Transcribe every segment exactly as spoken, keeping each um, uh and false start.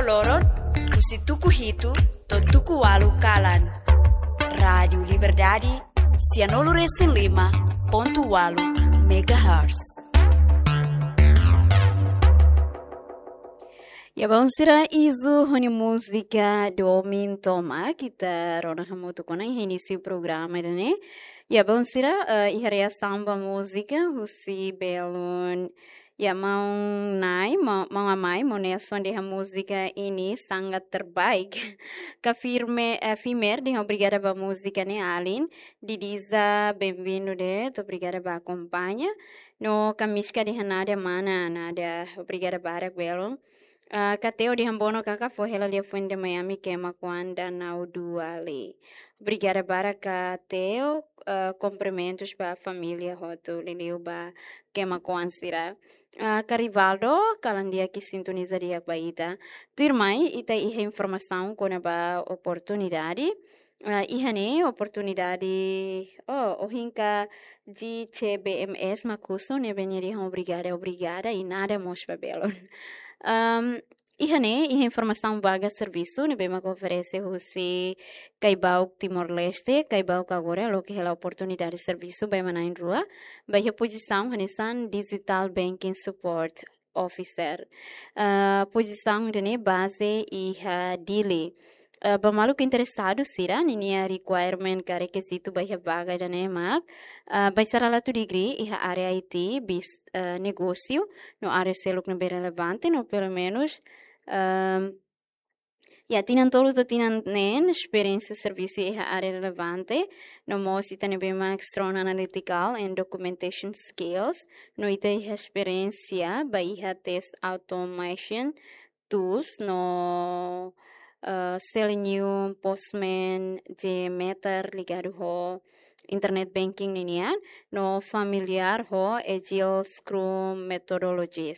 Loron, husi tuku hitu to'o tuku ualu kalan. Rádiu Liberdade, sianulu resin lima pontu ualu megahertz. Ya, balu sira, Izu ho nia múzika Domin Tomak, ita rona hamutuk ona iha inísiu programa ida-ne'e. Ya, balu sira, eh, iha reasaun ba múzika husi belun, ya, maun Nai, ma-, maun Amai, maun Nelson dehan múzika ini sangat terbaik. Ka Firme, eh, Fimer dehan obrigada ba múzika ne'e alin. Didiza, bem-vindo de'it, obrigada ba akompaña. No Kamiska dehan nada mana, nada, obrigada barak belun. Ah, Kateo dehan bono kaka fó hela liafuan ida Miami kema kuan danau dua le. Obrigada barak Kateo, ah, kumprimentus ba família hotu liuliu ba kema kuan sira. Ah, Ka Rivaldo, kalan di'ak ke sintoniza di'ak ba ita. Tuirmai, ita iha informasaun kona-ba oportunidade. Ah, iha ne'e oportunidade, oh, ohin ka G C B M S mak husu, ne'ebé nia dehan obrigada, obrigada, i nada mós ba belun. Am, iha ne'e, iha informasaun vaga servisu, ne'ebé mak oferese husi Caibauk Timor-Leste, Caibauk agora loke hela oportunidade servisu ba ema na'in-rua, ba iha pozisaun hanesan Digital Banking Support Officer. Ah, pozisaun ida-ne'e baze iha Dili. Ah, ba maluk interesadu sira, ninia requirement ka rekizitu ba iha vaga ida-ne'e mak, ah, baixaralatu degree iha área I T, bis, ah, negósiu, no área seluk ne'ebé relevante, no pelumenus, ah, ya, tinan tolu to'o tinan neen esperiénsia servisu iha área relevante, no mós ita ne'ebé mak strong analytical and documentation skills, no ita iha esperiénsia ba iha test automation tools no, eh, Selenium, Postman, JMeter ligadu ho internet banking ninian, no familiar ho Agile Scrum methodologies.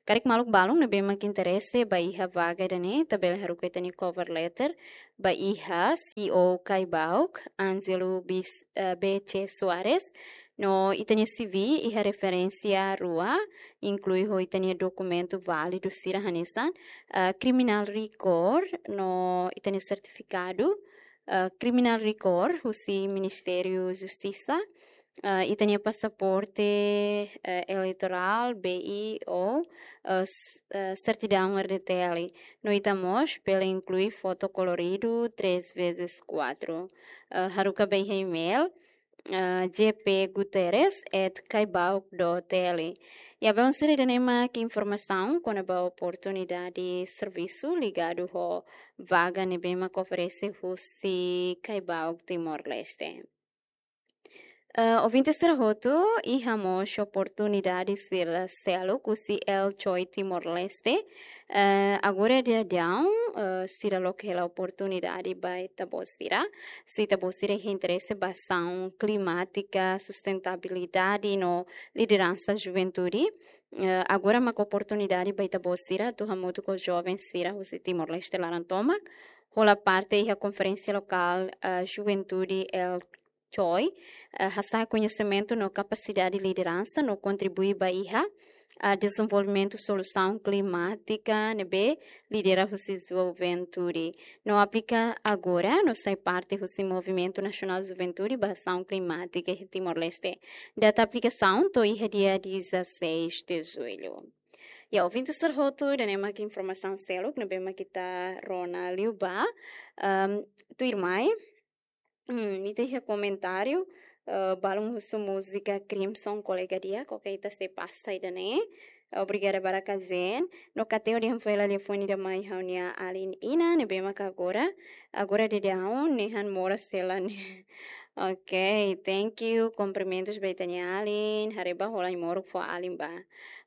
Karik maluk balun ne'ebé mak interese ba iha vaga ida-ne'e, ita bele haruka ita-nia cover letter ba iha C E O Caibauk, Angelo Bis-, eh, B C Soares, no ita-nia C V iha referénsia rua, inklui ho ita-nia dokumentu válidu sira hanesan, eh, criminal record, no ita-nia sertifikadu, eh, criminal record husi Ministériu Justisa, eh, ita-nia pasaporte, eh, eleitorál, B I ou, eh, s-, eh, sertidaun R D T L. No ita mós bele inklui foto koloridu três vezes quatro. Eh, haruka ba iha email, eh, J P Guterres at caibauk dot T L. Ya, balu sira, ida-ne'e mak informasaun kona-ba oportunidade servisu ligadu ho vaga ne'ebé mak oferese husi Caibauk Timor-Leste. Eh, ouvinte sira hotu, iha mós oportunidade sira seluk husi L Choi Timor-Leste. Eh, agora daudaun, eh, sira loke hela oportunidade ba ita-boot sira. Se ita-boot sira iha interese ba asaun klimátika, sustentabilidade no lideransa juventude, eh, agora mak oportunidade ba ita-boot sira atu hamutuk ho joven sira husi Timor-Leste laran tomak hola parte iha konferénsia lokál, eh, Juventude L Choi, eh, hasa'e koñesimentu no kapasidade lideransa no kontribui ba iha, ah, dezenvolvimentu solusaun klimátika ne'ebé lidera husi juventude. No aplika agora, no sai parte husi Movimentu Nasionál Juventude ba Asaun Klimátika iha Timor-Leste. Data aplikasaun to'o iha dia dezasseis de julho. Ya, ouvinte sira hotu, ida-ne'e mak informasaun seluk ne'ebé mak ita rona liubá. Am, tuirmai, hmm, ita iha komentáriu, eh, balun husu múzika Crimson, kolega di'ak, oke, ita sei pasa ida-ne'e. Obrigada barak Zen. No Kateo dehan fó hela liafuan ida mai ha'u-nia alin Ina, ne'ebé mak agora, agora daudaun nehan moras hela ne'e. Oke, thank you. Kumprimentus ba ita-nia alin. Haree bá, hola ai-moruk fó alin bá.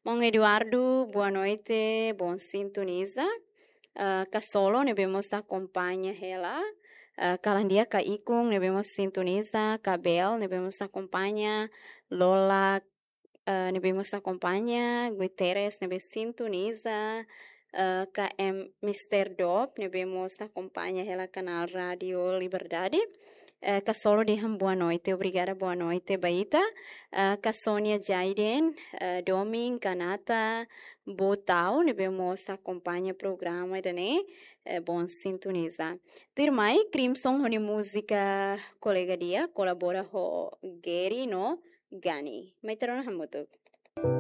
Maun Eduardo, boa noite, bom sintoniza. Ah, Ka Solo ne'ebé mós akompaña hela. Ah, kalan di'ak Ka Ikun ne'ebé mós sintoniza, Ka Bel ne'ebé mós akompaña, Lola, ah, ne'ebé mós akompaña, Guterres ne'ebé sintoniza, ah, K M Mister Dop ne'ebé mós akompaña hela kanál Rádiu Liberdade. Eh, Kasolo dehan boa noite, obrigada, boa noite ba ita. Eh, Kasonia Jaiden, eh, Domin, Kanata, Botau, ne'ebé mós akompaña programa ida-ne'e, eh, bom sintoniza. Tuirmai, Crimson ho nia múzika Kolega Di'ak, kolabora ho Gary no Gani. Mai ita rona hamutuk.